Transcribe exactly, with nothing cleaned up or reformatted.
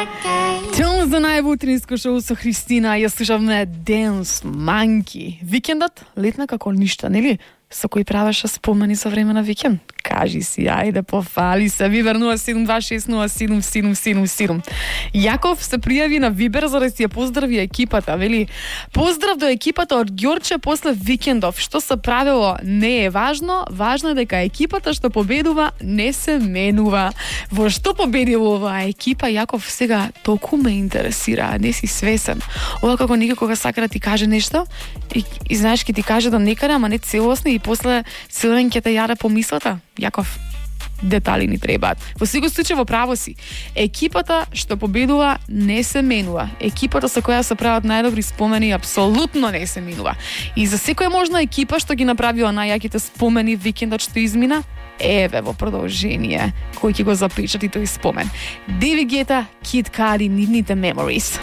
Чао за најво утринско шоу со Христина. Ја слушавме Dance Monkey. Викендот летна како ништо, нели? Со кој правеше спомени за време на викенд? Кажи си, ајде, пофали се. Вибер нула седум два шест нула седум седум седум седум. Јаков се пријави на Вибер за да си ја поздрави екипата. Вели, поздрав до екипата од Ѓорче после викендов. Што се правило не е важно, важно е дека екипата што победува не се менува. Во што победило оваа екипа, Јаков, сега толку ме интересира, не си свесен. Ова како некој кога сака да ти каже нешто и, и знаеш ки ти каже да некаде, ама не целосно и после силен ќе те јаде по мислата. Јаков, детали ни требаат. Во секој случај во право си. Екипата што победува не се менува. Екипата со која се прават најдобри спомени апсолутно не се менува. И за секоја можна екипа што ги направила најјаките спомени викендот што измина, еве во продолжение кој ќе го запечати тој спомен. Дейвид Гета, Kid Cudi, нивните Memories.